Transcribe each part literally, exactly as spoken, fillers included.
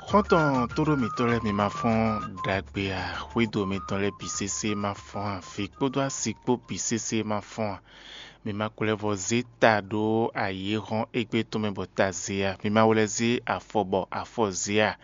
Xɔ́ntɔn tóɖó mǐtɔn lɛ́ɛ, mi ma fɔ́n ɖagbe a? Xwédo mitɔn lɛ́ɛ bǐ sésé ma fɔ́n a? Vǐ kpódó asi kpó bǐ sésé ma fɔ́n a? Mi ma kwlɛ́vɔ́ zé ta ɖó ayǐ e hɔ́n égbé tɔn mɛ bɔ ta zé a? Mi ma wlɛ́ zé afɔ bɔ afɔ zé a?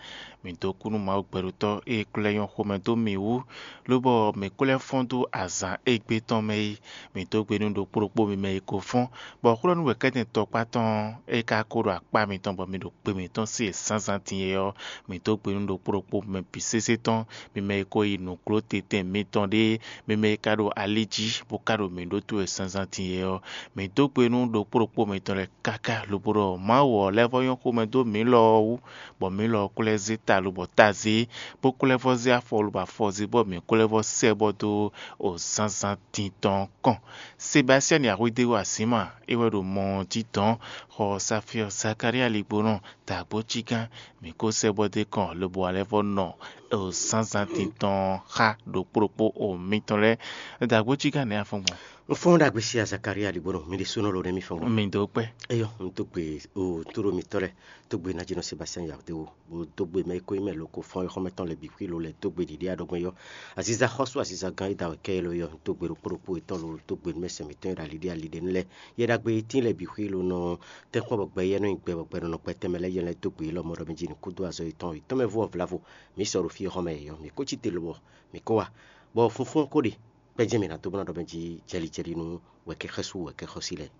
Mi dó kú nú Mawu gbɛɖotɔ́ e klɛ́ nyɔ́ xomɛ dó mǐ wú, lobɔ mǐ ko lɛ́ fɔ́n dó azǎn égbé tɔn mɛ é. Mǐ dó gbe nú ɖokpó ɖokpó mi mɛ e ko fɔ́n, bɔ xwlɔ́nú wɛ kɛ́tɛn tɔkpá tɔn e ka ko ɖo akpá mitɔn bɔ mi ɖo gbe mǐtɔn se zǎnzǎn din é ɔ́, mǐ dó gbe nú ɖokpó ɖokpó mɛ bǐ sésé tɔn, mi mɛ e ko yi nǔgló tɛntɛn mitɔn ɖé, mi mɛ e ka ɖo ali jí bó ka ɖo mǐ ɖótó wɛ zǎnzǎn din é ɔ́, mǐ dó gbe nú ɖokpó ɖokpó mitɔn lɛ́ɛ káká lobo ɖɔ Mawu ɔ́ lɛ́ vɔ́ nyɔ́ xomɛ dó mǐ lɔ ɔ́ wú, bɔ mǐ lɔ ɔ́ ko lɛ́ zé ta lobɔ ta zé, bó ko lɛ́ vɔ́ zé afɔ lobɔ afɔ zé, bɔ mǐ ko lɛ́ vɔ́ sɛ bɔ dó o zǎnzǎn din tɔn kɔn. Sebastiani Axwédéwu Azǐma é wɛ ɖo mɔ ɔ́ jí dɔ̌n, xɔ Safyɔ Zakalía Ligbonɔ dǎgbó cí gán, mǐ ko sɛ bɔ dé kɔn lobo alɛ́ vɔ nɔ o zǎnzǎn din tɔn xá ɖokpó ɖokpó o mitɔn lɛ́ɛ. Dǎgbó cí gán nɛ̌ a fɔ́n gbɔn? Un fɔ́n ɖagbe sí Zakalía Ligbonɔ, mi ɖésúnɔ ló nɛ́ mi fɔ́n gbɔn. Mi dó kpɛ́. Eyɔ, un dó gbe o tóɖó mitɔ́ lɛ́ɛ, dó gbe Najínɔ Sebastiani Axwédéwu, bó dó gbe mɛ e ko nyí mɛ loko fɔ́n é xɔ́mɛtɔn lɛ́ɛ bǐ xwí lo lɛ́ɛ dó gbe ɖiɖi aɖɔgbɛ́n yɔ. Aziza xɔ́sú, aziza gán e da wɛ kɛ é lo yɔ, dó gbe ɖokpó ɖokpó etɔ́ lo dó gbe nú mɛ sɛn mǐtɔn e ɖo ali ɖé ali ɖé nu lɛ́ɛ. Yɛ ɖagbe e tín lɛ́ɛ bǐ xwí lo nɔ tɛ́nkpɔ́n bɔ gbɛ yɛ nɔ nyi gbɛ bɔ gbɛ nɔ nɔ kpɛtɛn mɛ lɛ́ɛ yɛ lɛ́ɛ dó gbe élɔ́ mɔ ɖɔ mɛ jí nǔ kúdó azɔ̌ yětɔn yětɔn mɛ vú ɔ́ vlavo. Mǐ sɔ ɖo fí e xɔ́mɛ yě yɔ, mǐ ko cí te lobɔ mǐ ko wá, bɔ funfún ko ɖe kpɛ́ jɛ́n mǐ ná dó bó ná ɖɔ mɛ jí jɛli jɛli nú wɛ̌kɛ́xɔ́sú wɛ̌kɛ́xɔ́sí lɛ́ɛ.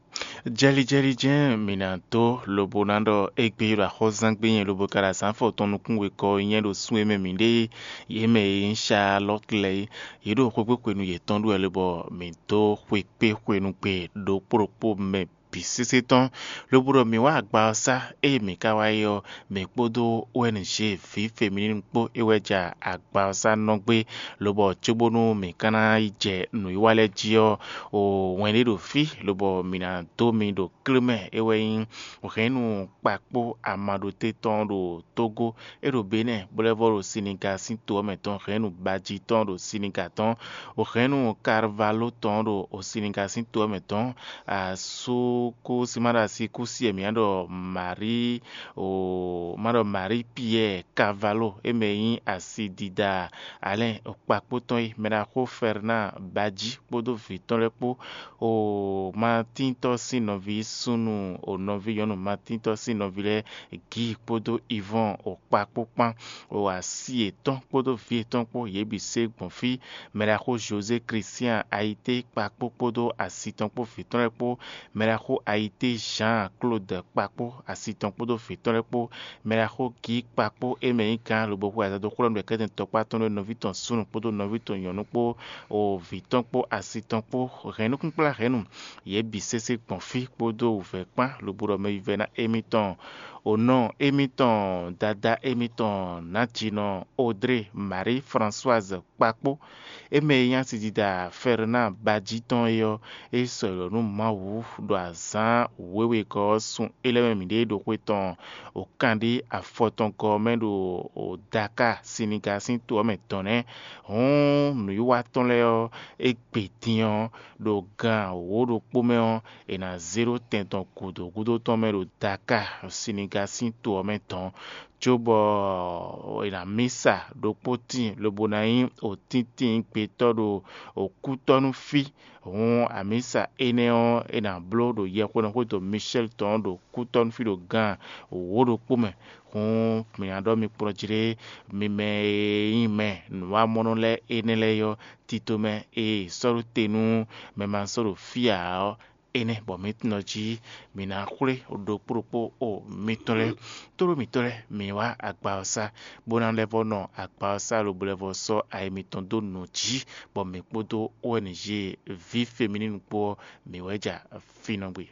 Jɛlijɛli jɛ́n mǐ ná dó lobo ná ɖɔ égbé ɖo axɔ́zángbé nyɛ lobo ka ɖo azǎn afɔtɔn nukún wekɔ nyɛ ɖo sun e mɛ mǐ ɖe yě mɛ e nyí Salɔ́te lɛ́ɛ é. Yě ɖo xwekpéxwenu yětɔn ɖu wɛ lobɔ mǐ dó xwekpéxwenu gbe ɖokpó ɖokpó mɛ bǐ sésé tɔn, lobo ɖɔ mǐ wá agba ɔ́ sá. Ée mǐ ka wá yi ɔ́, mǐ kpódó O N G ví femininu kpó é wɛ ja agba ɔ́ sá nɔ gbé, lobɔ cóbónú mǐ ka ná yi jɛ nǔwiwa lɛ́ɛ jí ɔ́, o wɛn ɖé ɖo fí, lobɔ mǐ ná dó mi ɖo klé mɛ, é wɛ nyí hɛ̌nnu kpakpó amaɖoté tɔn ɖo Tógó, é ɖo Benɛ́ɛ, bó lɛ́ vɔ ɖo Siniga sín to ɔ́ mɛ tɔn, hɛ̌nnu bají tɔn ɖo Siniga tɔn, o hɛ̌nnu Karvalo tɔn ɖo Siniga sín to ɔ́ mɛ tɔn, asú kú si ma ɖo asi kú si e mǐ ɖɔ Marí, o ma ɖɔ Marí Piyɛ́ɛ Kavalo, é mɛ e nyí asidida Alɛ́n kpakpó tɔn é, mɛ ɖaxó Fɛrnaa Bají kpódó vǐ tɔn lɛ́ɛ kpó, o Matíntɔ́ sín nɔví súnnu, o nɔví nyɔ̌nu Matíntɔ́ sín nɔví lɛ́ɛ Gíi kpódó Ivɔ́ɔn o kpakpó kpán, o asi yětɔn kpódó vǐ yětɔn kpó, yě bǐ se gbɔn fí. Mɛ ɖaxó José Kristian Ayité kpakpó kpódó asi tɔn kpó vǐ tɔn lɛ́ɛ kpó, mɛ ɖaxó Ayité Jean Claude kpakpó asi tɔn kpódó vǐ tɔn lɛ́ɛ kpó, mɛ ɖaxó Gíi kpakpó é mɛ nyí gǎn lobo xwe azɔ̌ dó xwlɔ́ nǔɖekɛ́tɛn tɔkpá tɔn ɖó nɔví tɔn súnnu kpódó nɔví tɔn nyɔ̌nu kpó, o vǐ tɔn kpó asi tɔn kpó, hɛ̌nnukúnkplá hɛ̌nnu, yě bǐ sésé gbɔn fí kpódó wǔvɛ́ kpán lobo ɖɔ mɛ vívɛ́ná émítɔn, o nɔ émítɔn, dadá émítɔn, nǎjinɔ Odré Marie Françoise kpakpó, é mɛ e nyí asidida Fɛrnaa Bají tɔn é ɔ́, é sɔ́ yɔ nú Mawu ɖo azǎn wěwegɔ́ ɔ́ sun é lɛ́ɛ mɛ mǐɖée ɖo xwe tɔn o kanɖé afɔtɔngɔ́ ɔ́ mɛ ɖo Dakáa, Sinigaa sín to ɔ́ mɛ dɔ̌n nɛ́. Hǔn nǔwiwa tɔn lɛ́ɛ ɔ́, é gbe din ɔ́, ɖo gan wǒ ɖokpó mɛ ɔ́, è nǎ zé ɖó tɛn tɔn gǔdo gúdo tɔn mɛ ɖo Dakáa, Sinigaa sín to ɔ́ mɛ dɔ̌n. Cóbɔ è nǎ mí sa ɖokpó tíin lobo ná nyí òtíntín gbetɔ́ ɖo òkútɔ́ nú fí. Hǔn amǐsa énɛ́ ɔ́, è nǎ bló ɖo yɛhweɖɔxwédo Micɛ́li tɔn ɔ́ ɖo kútɔ́ nú fí ɖo gan wǒ ɖokpó mɛ. Hǔn mǐ ná ɖɔ mi kplɔ́n jlé mi mɛ e nyí mɛ nǔwamɔnɔ lɛ́ɛ énɛ́ lɛ́ɛ ɔ́, tito mɛ e è sɔ́ ɖó te nú mɛ ma sɔ́ ɖo fí ǎ ɔ́, énɛ́ bɔ mǐ tunɔ jí mǐ ná xwlé ɖokpó ɖokpó o mitɔn lɛ́ɛ. Tlóló mǐtɔn lɛ́ɛ, mǐ wá agba ɔ́ sá, bó ná lɛ́ vɔ́ nɔ agba ɔ́ sá lobo lɛ́ vɔ́ sɔ́ ayi mitɔn dó nǔ jí, bɔ mǐ kpódó O N G ví femininu kpó ɔ́, mǐ wɛ ja fínɔ́ gbe.